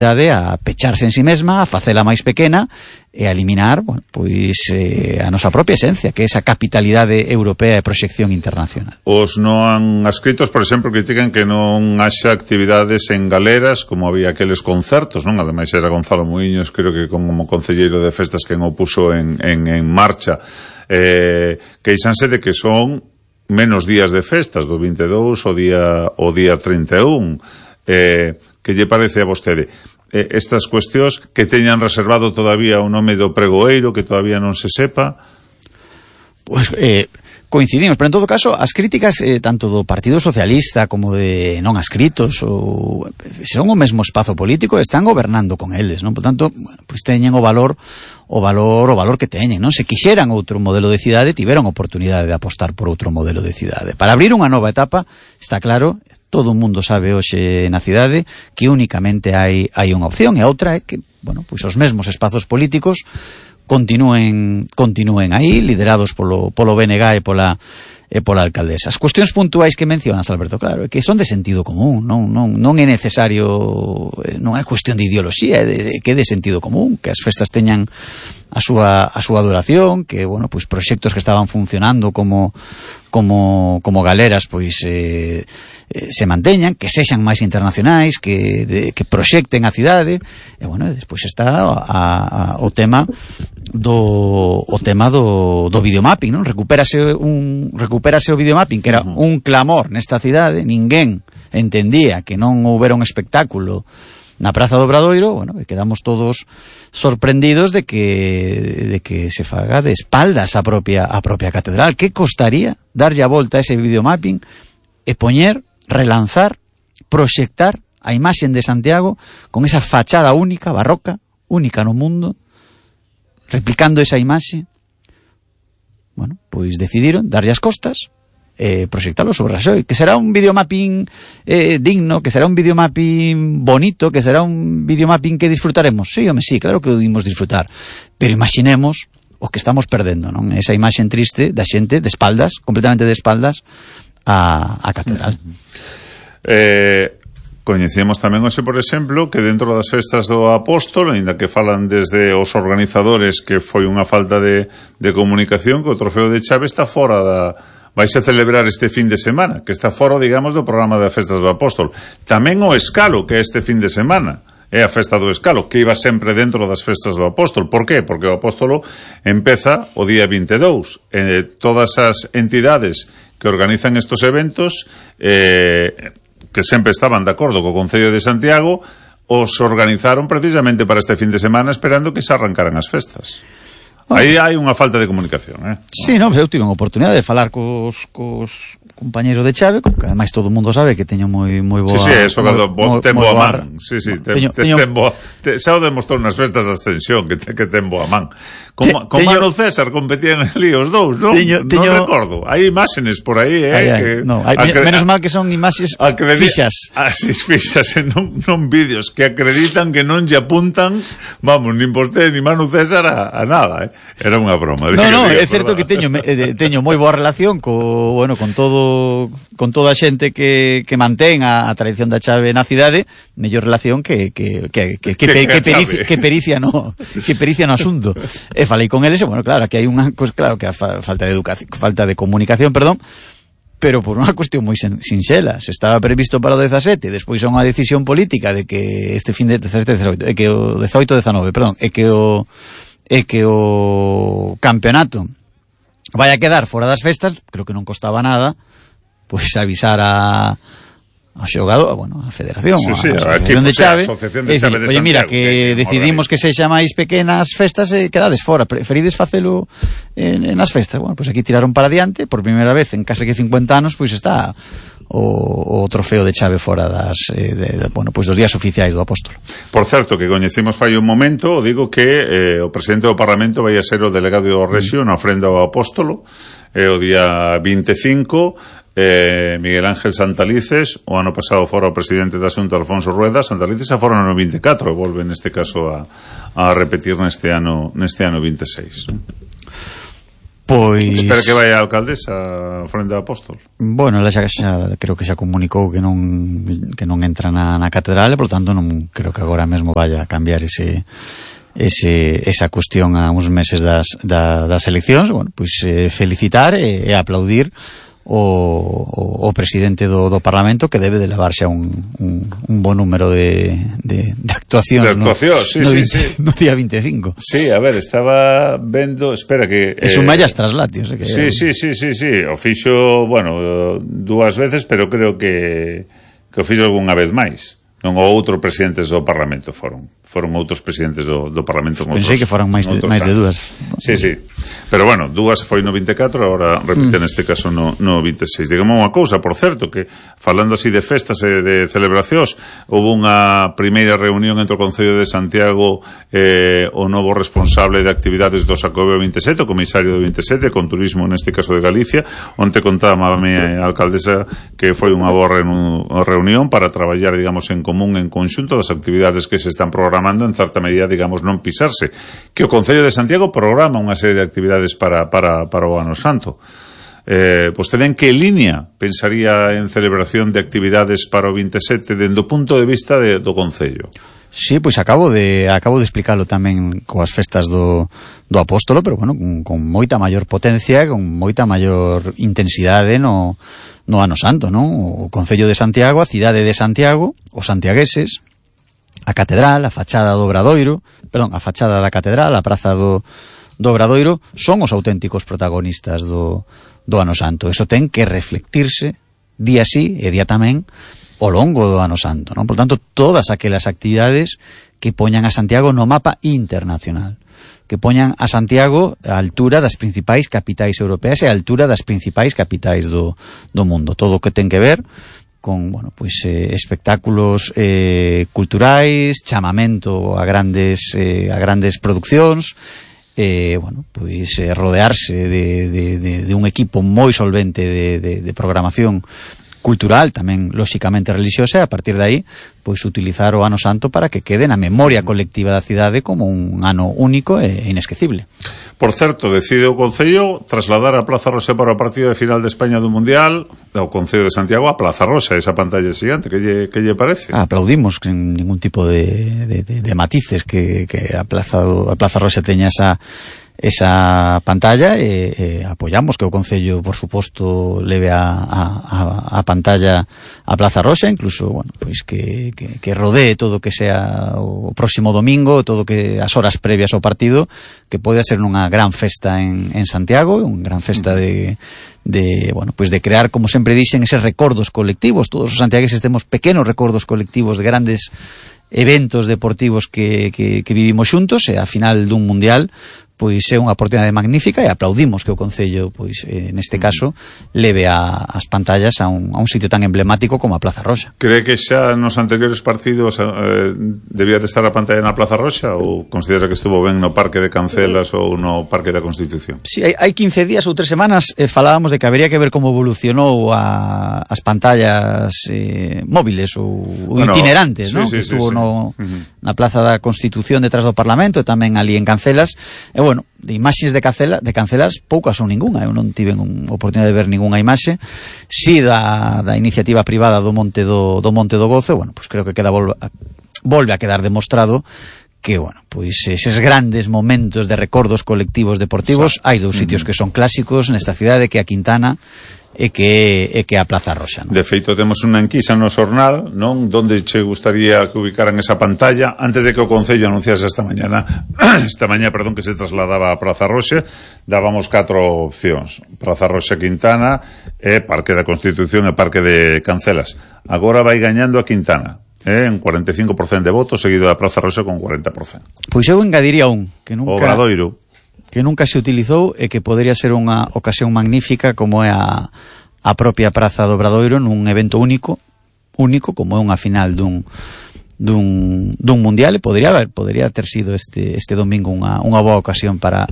a pecharse en si mesma, a facela máis pequena e a eliminar, bueno, pois a nosa propia esencia, que é esa capitalidade europea de proxección internacional. Os non adscritos, por exemplo, critican que non haxa actividades en galeras como había aqueles concertos, non? Ademais era Gonzalo Muiños, creo que como concelleiro de festas quen o puso en marcha. Queixanse de que son menos días de festas, do 22 o día 31. Que lle parece a vostede estas cuestións que teñan reservado todavía o nome do pregoeiro, que todavía non se sepa? Pois coincidimos, pero en todo caso as críticas tanto do Partido Socialista como de non adscritos ou son o mesmo espazo político, están gobernando con eles, non? Por tanto, bueno, pois teñen o valor que teñen, non? Se quixeran outro modelo de cidade, tiveron oportunidade de apostar por outro modelo de cidade. Para abrir unha nova etapa, está claro, todo o mundo sabe hoxe na cidade que únicamente hai unha opción, e a outra é que, bueno, pois os mesmos espazos políticos continúen aí, liderados polo BNG e pola alcaldesa. As cuestións puntuais que mencionas, Alberto, claro, é que son de sentido común, non é necesario, non é cuestión de ideoloxía, é que é de sentido común, que as festas teñan a súa duración, que, bueno, pois proxectos que estaban funcionando como galeras, pois se manteñan, que sexan máis internacionais, que proxecten a cidade, e, bueno, despois está o tema do videomapping, non? Recupérase o videomapping, que era un clamor nesta cidade. Ninguén entendía que non houbera un espectáculo na Praza do Obradoiro. Bueno, quedamos todos sorprendidos de que se faga de espaldas a propia catedral. Que costaría darlle a volta a ese videomapping e poñer, relanzar, proxectar a imaxen de Santiago con esa fachada única, barroca, única no mundo, replicando esa imaxe? Bueno, pois decidiron darlle as costas, proxectalo sobre Raxoi, que será un videomapping digno, que será un videomapping bonito, que será un videomapping que disfrutaremos. Sí, claro que o dimos disfrutar, pero imaginemos o que estamos perdendo, non? Esa imaxe triste da xente de espaldas, completamente de espaldas a catedral. Coñecemos tamén hoxe, por exemplo, que dentro das festas do Apóstolo, aínda que falan desde os organizadores que foi unha falta de comunicación, que o trofeo de chave está fora vaise celebrar este fin de semana, que está fora, digamos, do programa de festas do Apóstolo. Tamén o Escalo, que é este fin de semana, é a festa do Escalo, que iba sempre dentro das festas do Apóstolo. Por qué? Porque o Apóstolo empeza o día 22. Todas as entidades que organizan estos eventos, que sempre estaban de acordo co Concello de Santiago, os organizaron precisamente para este fin de semana, esperando que se arrancaran as festas. Bueno, aí hai unha falta de comunicación, Sí, non, eu tive unha oportunidade de falar cos compañeros de chave, que ademais todo o mundo sabe que teño moi boa... Sí, eso ten boa man. Sí, xa o demostrou nas festas da Ascensión, que ten boa man. Con Mano César competían ali os dous, non? Non recordo. Hai imágenes por aí, menos mal que son imaxes fixas. Fixas, non vídeos, que acreditan que non lle apuntan, vamos, nin vostede, ni Mano César a nada, Era unha broma. Non, é certo que teño moi boa relación con toda a xente que mantén a tradición da chave na cidade, mellor relación que pericia no asunto. E falei con eles, e, bueno, claro, que hai unha cosa, claro, que a falta de comunicación, perdón, pero por unha cuestión moi sinxela. Se estaba previsto para o 17, despois é unha decisión política de que este fin de 17-18, que o 18-19, perdón, é que o campeonato vai a quedar fora das festas. Creo que non costaba nada pois avisar ao xogador, bueno, a federación, a asociación de chave, oye, mira, que decidimos que sexa máis pequenas festas e quedades fora, preferides facelo nas festas. Bueno, pois aquí tiraron para diante, por primeira vez en case que 50 anos, pois está o trofeo de chave fora dos días oficiais do Apóstolo. Por certo, que coñecimos fai un momento, digo que o presidente do Parlamento vai a ser o delegado do Rexio na ofrenda ao Apóstolo, o día 25. Miguel Ángel Santalices, o ano pasado fora o presidente da Xunta, Alfonso Rueda. Santalices a fora no 24, e volve neste caso a repetir neste ano 26. Pois... Espera que vai a alcaldesa frente ao apóstol. Bueno, ela xa creo que xa comunicou que non entra na catedral, e, por tanto, non creo que agora mesmo vaya a cambiar esa cuestión a uns meses das eleccións. Bueno, pois felicitar e aplaudir o presidente do Parlamento, que debe de levarse a un bo número de actuacións no día 25. Sí, a ver, estaba vendo, espera que... Es un mallas traslatios. Sí, o fixo, bueno, dúas veces, pero creo que o fixo algunha vez máis. Non o outro presidentes do Parlamento foron outros presidentes do Parlamento. Pensei que foran máis de dúas. Sí. Pero bueno, dúas foi no 24, agora repite neste caso no 26. Digamos unha cousa, por certo, que falando así de festas e de celebracións, houve unha primeira reunión entre o Concello de Santiago o novo responsable de actividades do Xacobeo 27, o comisario do 27, con turismo neste caso de Galicia, onte contaba a alcaldesa que foi unha boa reunión para traballar, digamos, en común, en conxunto das actividades que se están programando, en certa medida, digamos, non pisarse, que o Concello de Santiago programa unha serie de actividades para o Ano Santo. Vostede en que línea pensaría en celebración de actividades para o 27 dende o punto de vista do Concello? Sí, pois acabo de explicalo tamén coas festas do Apóstolo, pero bueno, con moita maior potencia, con moita maior intensidade no Ano Santo, non? O Concello de Santiago, a cidade de Santiago, os santiagueses, a catedral, a fachada do Obradoiro, a fachada da catedral, a praza do Obradoiro, son os auténticos protagonistas do Ano Santo. Eso ten que reflectirse día sí e día tamén ao longo do Ano Santo, non? Por tanto, todas aquelas actividades que poñan a Santiago no mapa internacional, que poñan a Santiago á altura das principais capitais europeas e á altura das principais capitais do mundo. Todo o que ten que ver con, bueno, pois espectáculos culturais, chamamento a grandes produccións, bueno, pois rodearse de un equipo moi solvente de programación cultural, tamén lóxicamente religiosa, e a partir de aí pois utilizar o Ano Santo para que quede na memoria colectiva da cidade como un ano único e inesquecible. Por certo, decide o Concello trasladar a Plaza Rosa para o partido de final de España do Mundial, o Concello de Santiago a Plaza Rosa, esa pantalla xigante, que lle parece? Aplaudimos sin ningún tipo de matices que a Plaza Rosa teña esa pantalla, e apoyamos que o Concello, por suposto, leve a pantalla a Plaza Rosa, incluso, bueno, pois que rodee todo o que sea o próximo domingo, todo que as horas previas ao partido, que pode ser unha gran festa en Santiago, unha gran festa de bueno, pois de crear, como sempre dixen, eses recordos colectivos. Todos os santiagueses temos pequenos recordos colectivos de grandes eventos deportivos que vivimos xuntos, e a final dun mundial pois é unha oportunidade magnífica, e aplaudimos que o Concello, pois neste caso, leve as pantallas a un sitio tan emblemático como a Plaza Rosa. Cree que xa nos anteriores partidos debía de estar a pantalla na Plaza Rosa, ou considera que estuvo ben no Parque de Cancelas ou no Parque da Constitución? Sí, hai 15 días ou 3 semanas falábamos de que habería que ver como evolucionou as pantallas móviles ou itinerantes, sí, ¿no? Sí, que estuvo sí. na Plaza da Constitución detrás do Parlamento, e tamén ali en Cancelas. E bueno, de imaxes de Cancelas poucas ou ningunha. Eu non tive oportunidade de ver ningunha imaxe. Si da iniciativa privada do Monte do Gozo, bueno, pois creo que volve a quedar demostrado que, bueno, pois eses grandes momentos de recordos colectivos deportivos, hai dous sitios que son clásicos nesta cidade, que a Quintana e que a Plaza Rosa, ¿no? De feito, temos unha enquisa no xornal, non? Donde che gustaría que ubicaran esa pantalla antes de que o Concello anunciase esta mañá, que se trasladaba a Plaza Rosa. Dábamos 4 opcións: Plaza Rosa, Quintana, e Parque da Constitución e Parque de Cancelas. Agora vai gañando a Quintana, en 45% de votos, seguido da Plaza Rosa con 40%. Pois eu engadiría que nunca... Obradoiro, que nunca se utilizou, e que podería ser unha ocasión magnífica, como é a propia Praza do Obradoiro, nun evento único como é unha final dun mundial, e podría ter sido este domingo unha boa ocasión para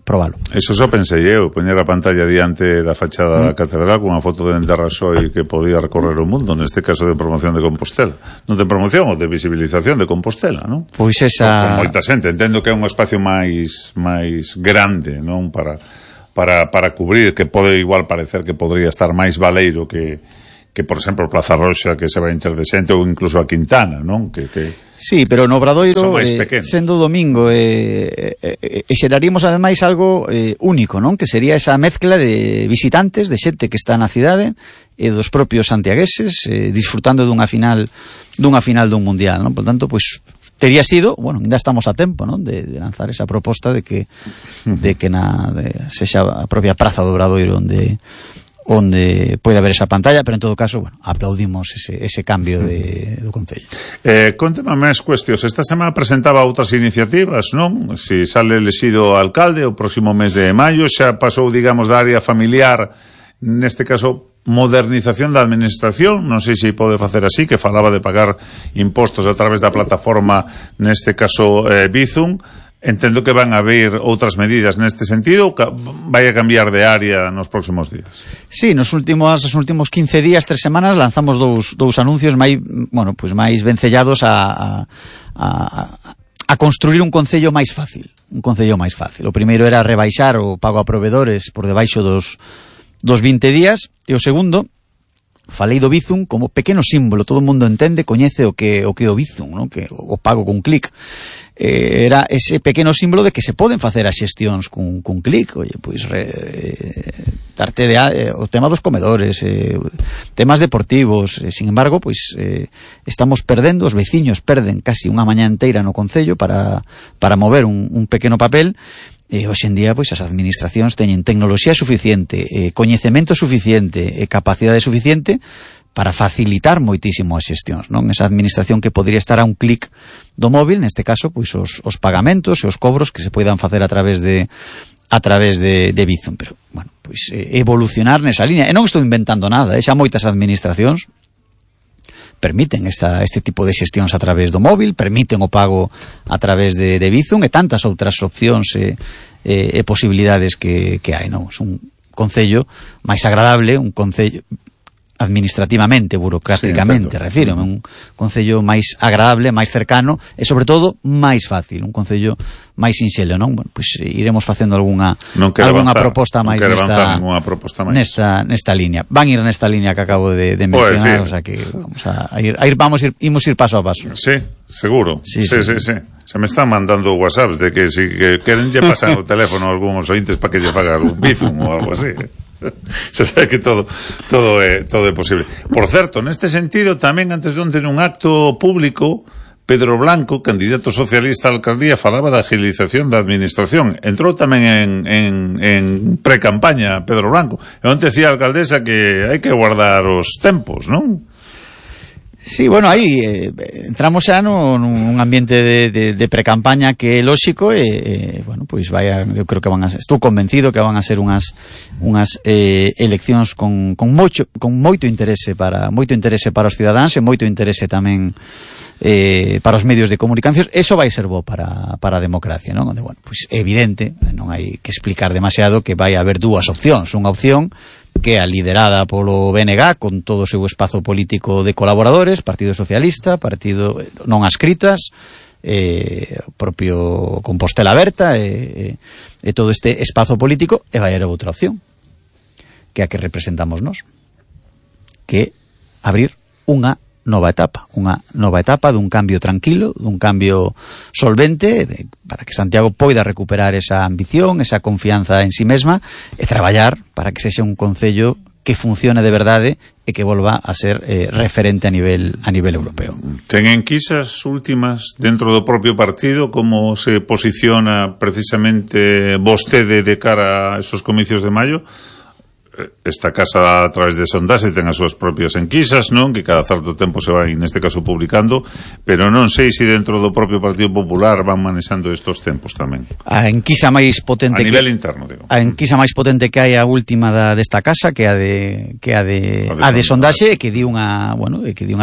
probalo. Eso só pensei eu, poñer a pantalla diante da fachada da catedral con unha foto de Enterrasoi que podía recorrer o mundo, neste caso de promoción de Compostela. Non de promoción, ou de visibilización de Compostela, non? Pois esa... Con moita xente, entendo que é un espacio máis grande, non? Para para cubrir, que pode igual parecer que podría estar máis baleiro que por exemplo, Plaza Roxa, que se vai encher de xente, ou incluso a Quintana, non? Sí, pero no Obradoiro, sendo domingo, xeraríamos ademais algo único, non? Que sería esa mezcla de visitantes, de xente que está na cidade, e dos propios santiagueses, disfrutando dunha final dun mundial, non? Por tanto, pois, tería sido, bueno, ainda estamos a tempo, non? De lanzar esa proposta de que sexa a propia Praza do Obradoiro onde pode haber esa pantalla, pero en todo caso, bueno, aplaudimos ese cambio do Concello. Conteme máis cuestións. Esta semana presentaba outras iniciativas, non? Si sale elexido alcalde o próximo mes de maio, xa pasou, digamos, da área familiar, neste caso, modernización da administración, non sei se pode facer así, que falaba de pagar impostos a través da plataforma, neste caso, Bizum. Entendo que van a haber outras medidas neste sentido, vai a cambiar de área nos próximos días. Sí, nos últimos 15 días, 3 semanas, lanzamos dous anuncios máis vencellados a construir un concello máis fácil. O primeiro era rebaixar o pago a provedores por debaixo dos 20 días, e o segundo, falei do Bizum como pequeno símbolo, todo o mundo entende, coñece o que o Bizum, non? Que o pago cun clic. Era ese pequeno símbolo de que se poden facer as xestións cun clic. Oye, pois darte o tema dos comedores, temas deportivos, sin embargo, pois estamos perdendo, os veciños perden casi unha mañá inteira no concello para mover un pequeno papel. Hoxe en día, pois, as administracións teñen tecnoloxía suficiente, coñecemento suficiente, capacidade suficiente para facilitar moitísimo as xestións, non? Esa administración que podría estar a un clic do móvil, neste caso, pois os pagamentos e os cobros que se poidan facer a través de Bizum, pero, bueno, pois evolucionar nesa línea. E non estou inventando nada, xa moitas administracións permiten este tipo de xestións a través do móvil, permiten o pago a través de Bizum e tantas outras opcións e posibilidades que hai, non? É un concello máis agradable, un concello administrativamente, burocráticamente, refírome, un concello máis agradable, máis cercano e, sobre todo, máis fácil, un concello máis sinxelo, non? Bueno, pois iremos facendo algunha proposta máis nesta liña. Van ir nesta liña que acabo de mencionar, o sea que imos ir paso a paso. Sí, seguro. Sí. Se me están mandando whatsapps de que si queren lle pasan o teléfono a algúns ointes para que lle faga algún Bizum ou algo así. Se sabe que todo é posible. Por certo, neste sentido, tamén antes de onte nun acto público, Pedro Blanco, candidato socialista á alcaldía, falaba da agilización da administración. Entrou tamén en pre-campaña Pedro Blanco. E onte decía a alcaldesa que hai que guardar os tempos, non? Sí, bueno, aí entramos xa nun ambiente de pre-campaña que é lóxico e bueno, pois eu creo que estou convencido que van a ser unhas eleccións con moito interese para os cidadáns e moito interese tamén para os medios de comunicación. Eso vai ser bo para a democracia, non? Onde, bueno, pois é evidente, non hai que explicar demasiado que vai haber dúas opcións, unha opción que é a liderada polo BNG con todo o seu espazo político de colaboradores, Partido Socialista, Partido non adscritas, propio Compostela Aberta e todo este espazo político, e vai haber outra opción que é a que representamos nós, que é abrir unha nova etapa dun cambio tranquilo, dun cambio solvente, para que Santiago poida recuperar esa ambición, esa confianza en sí mesma e traballar para que sexa un concello que funcione de verdade e que volva a ser referente a nivel europeo. Ten enquisas últimas dentro do propio partido como se posiciona precisamente vostede de cara a esos comicios de maio? Esta casa a través de sondaxe ten as súas propias enquisas, non? Que cada certo tempo se vai, neste caso, publicando, pero non sei se dentro do propio Partido Popular van manexando estos tempos tamén. A enquisa máis potente a nivel interno, digo. A enquisa máis potente que hai a última desta casa, que a de sondaxe, que di unha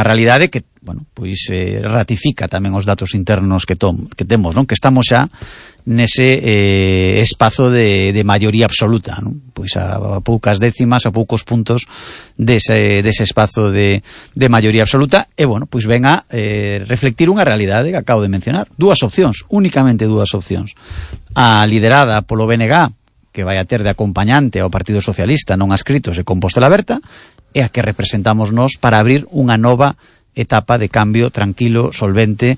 realidade que, bueno, pois ratifica tamén os datos internos que temos, non? Que estamos xa nese espazo de maioría absoluta, non? Pois a poucas décimas, a poucos puntos dese espazo de maioría absoluta, e, bueno, pois ven a reflectir unha realidade que acabo de mencionar. Únicamente dúas opcións. A liderada polo BNG, que vai a ter de acompañante ao Partido Socialista non adscritos e Compostela Aberta, e a que representamos nós para abrir unha nova etapa de cambio tranquilo, solvente,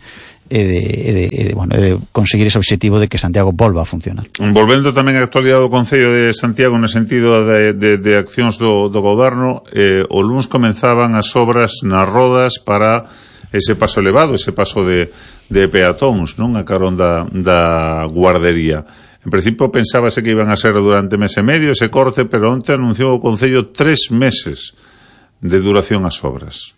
de conseguir ese objetivo de que Santiago volva a funcionar. Volvendo tamén á actualidade do Concello de Santiago no sentido de accións do goberno, o luns comenzaban as obras nas rodas para ese paso elevado, ese paso de peatóns, non? A carón da guardería. En principio pensábase que iban a ser durante mes e medio ese corte, pero onte anunciou o Concello 3 meses de duración as obras.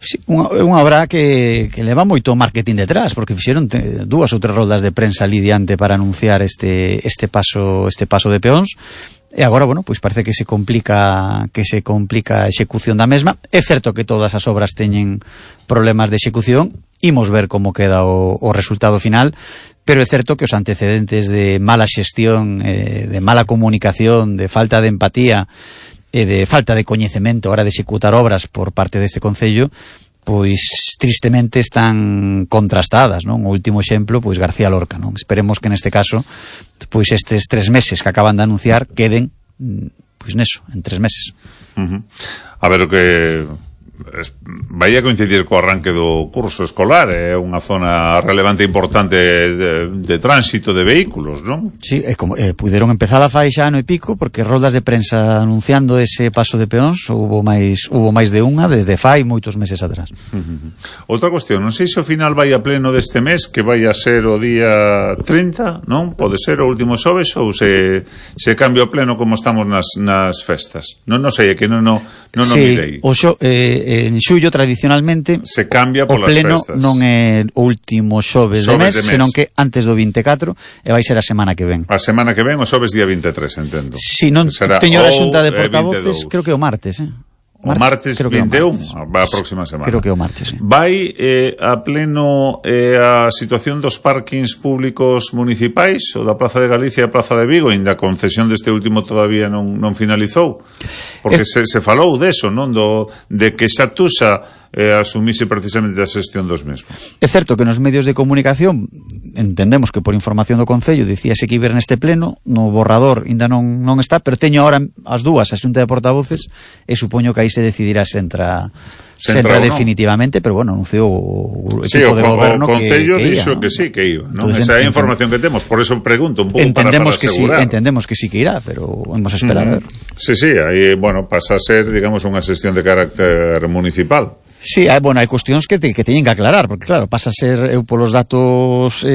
Sí, unha obra que leva moito marketing detrás, porque fixeron 2 ou 3 roldas de prensa ali diante para anunciar este paso de peóns, e agora, bueno, pois parece que se complica a execución da mesma. É certo que todas as obras teñen problemas de execución, imos ver como queda o resultado final, pero é certo que os antecedentes de mala xestión, de mala comunicación, de falta de empatía e de falta de coñecemento a hora de executar obras por parte deste Concello, pois tristemente están contrastadas, non? O último exemplo, pois García Lorca, non? Esperemos que neste caso, pois estes 3 meses que acaban de anunciar queden, pois neso, en 3 meses. A ver o que vai a coincidir co arranque do curso escolar, é unha zona relevante e importante de tránsito de vehículos, non? Sí, puderon empezar a fai xa ano e pico, porque roldas de prensa anunciando ese paso de peóns hubo máis de unha desde fai moitos meses atrás. Outra cuestión, non sei se ao final vai a pleno deste mes, que vai a ser o día 30, non? Pode ser o último xoves, ou se cambia o pleno como estamos nas festas. Non sei, é que non mirei. En xullo tradicionalmente se cambia polas o pleno festas. Non é o último xoves de mes, senón que antes do 24, e vai ser a semana que ven. A semana que ven, o xoves día 23, entendo. Si non teño a xunta de portavoces, creo que o martes, O martes 21, a próxima semana. Creo que o martes, sí. Vai a pleno a situación dos parkings públicos municipais, o da Plaza de Galicia e a Plaza de Vigo, ainda a concesión deste último todavía non finalizou, porque se falou deso, non? De que Xatusa asumise precisamente a xestión dos mesmos. É certo que nos medios de comunicación entendemos que por información do Concello dicíase que iba neste pleno, no borrador ainda non está, pero teño ahora as dúas a xunta de portavoces e supoño que aí se decidirá se entra definitivamente, pero bueno, anunciou o equipo de goberno que Concello dixo que sí, que iba, non? Esa é a información que temos, por eso pregunto un pouco para asegurar. Entendemos que sí que irá, pero vamos a esperar a ver. Sí, aí, bueno, pasa a ser, digamos, unha xestión de carácter municipal. Sí, hai cuestións que teñen que aclarar, porque claro, pasa a ser, eu polos datos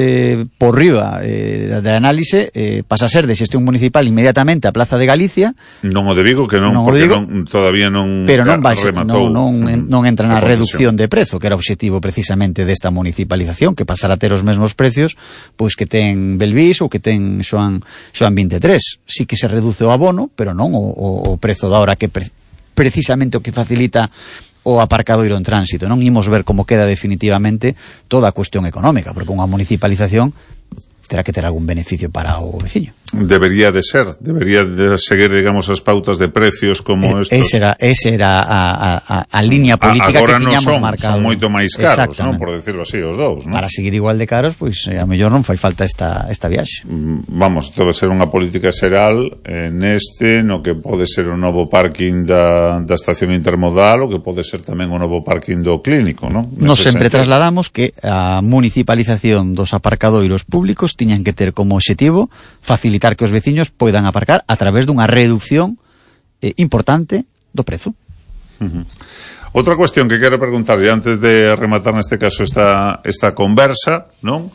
por riba de análise, pasa a ser de xestión municipal inmediatamente a Plaza de Galicia. Non o de Vigo, que non, porque todavía non rematou. Non entra na reducción de prezo, que era o obxectivo precisamente desta municipalización, que pasará a ter os mesmos precios pois que ten Belvís ou que ten Xoan 23. Sí que se reduce o abono, pero non o prezo da hora, que precisamente o que facilita o aparcadoiro en tránsito. Non imos ver como queda definitivamente toda a cuestión económica, porque unha municipalización terá que ter algún beneficio para o veciño. Debería de seguir, digamos, as pautas de precios como estos. Esa era a línea política que tiñamos marcado. Son moito máis caros, non? Por decirlo así, os dous, non? Para seguir igual de caros, pois a mellor non fai falta esta viaxe. Vamos, debe ser unha política xeral no que pode ser o novo parking da estación intermodal, o que pode ser tamén o novo parking do clínico, non? Nos sempre trasladamos que a municipalización dos aparcadoiros públicos tiñan que ter como objetivo facilitar que os veciños poidan aparcar a través dunha reducción importante do prezo. Outra cuestión que quero preguntarlle antes de rematar neste caso esta conversa, non?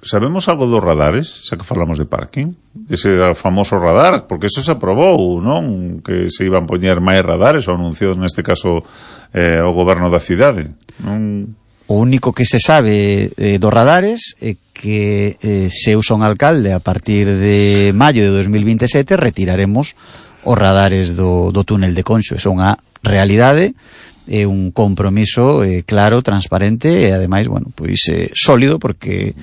Sabemos algo dos radares, xa que falamos de parking? Ese famoso radar, porque eso se aprobou, non? Que se iban poñer máis radares, o anunciou neste caso o goberno da cidade, non? O único que se sabe dos radares é que se eu son alcalde a partir de maio de 2027 retiraremos os radares do túnel de Conxo. É unha realidade, é un compromiso claro, transparente e ademais, bueno, pois sólido, porque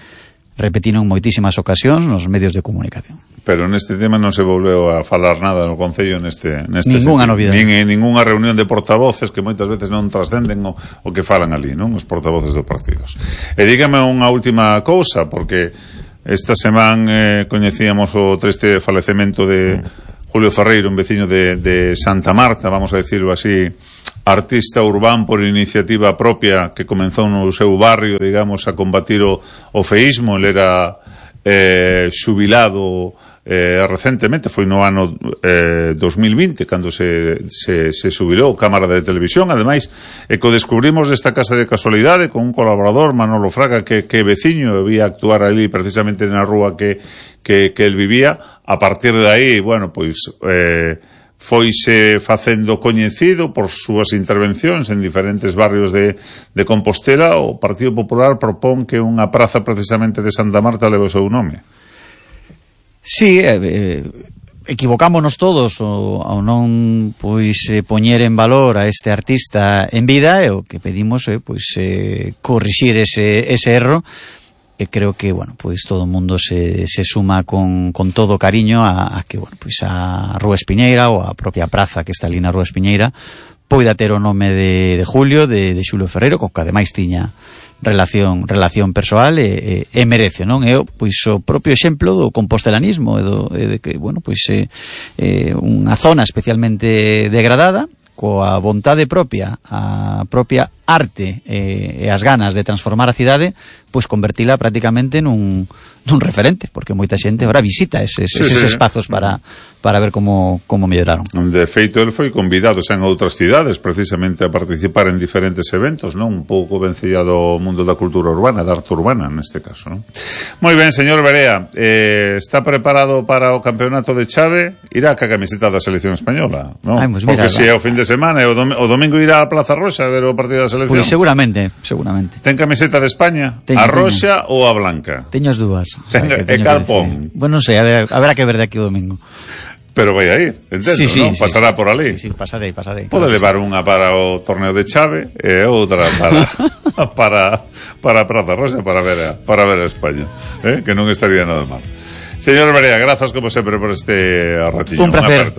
repetiron moitísimas ocasións nos medios de comunicación. Pero neste tema non se volveu a falar nada no Concello neste ninguna novidade. Nin ninguna reunión de portavoces que moitas veces non trascenden o que falan ali, non? Os portavoces dos partidos. E dígame unha última cousa, porque esta semana coñecíamos o triste falecemento de Julio Ferreiro, un veciño de Santa Marta, vamos a decirlo así, artista urbán por iniciativa propia que comenzou no seu barrio, digamos, a combatir o feísmo. Ele era xubilado recentemente, foi no ano 2020 cando se xubilou, Cámara de Televisión, ademais, e que o descubrimos desta casa de casualidade con un colaborador, Manolo Fraga, que veciño, vía actuar ali precisamente na rúa que el vivía. A partir de aí, bueno, pois foise facendo coñecido por súas intervencións en diferentes barrios de Compostela. O Partido Popular propón que unha praza precisamente de Santa Marta leve o seu nome. Sí, equivocámonos todos ao non poñer en valor a este artista en vida, e o que pedimos é corrixir ese erro. E creo que, bueno, pois todo o mundo se suma con todo cariño a que, bueno, pois a Rúa Espiñeira ou a propia praza que está ali na Rúa Espiñeira poida ter o nome de Julio, de Xulio Ferreiro, co que ademais tiña relación persoal e merece, non? É pois o propio exemplo do compostelanismo e de que, bueno, pois unha zona especialmente degradada, coa vontade propia, a propia arte e as ganas de transformar a cidade, pois convertila prácticamente nun referente, porque moita xente ahora visita eses espazos para ver como melloraron. De feito, el foi convidado en outras cidades precisamente a participar en diferentes eventos, non? Un pouco vencellado ao mundo da cultura urbana, da arte urbana neste caso, non? Moi ben, señor Berea, está preparado para o campeonato de chave? Irá ca camiseta da selección española, non? Pues porque se é o fin de semana e o domingo irá a Plaza Roxa a ver o partido da selección. Pois seguramente. Ten camiseta de España? A roxa ou a blanca? Teño as dúas. E calpón? Bueno, non sei, haberá que ver de aquí o domingo. Pero vai a ir, entendo, sí, non? Pasará por ali. Sí, pasarei. Pode levar unha para o torneo de chave e outra para a Praza Roxa para ver a España, que non estaría nada mal. Señor Berea, grazas como sempre por este ratiño. Un placer.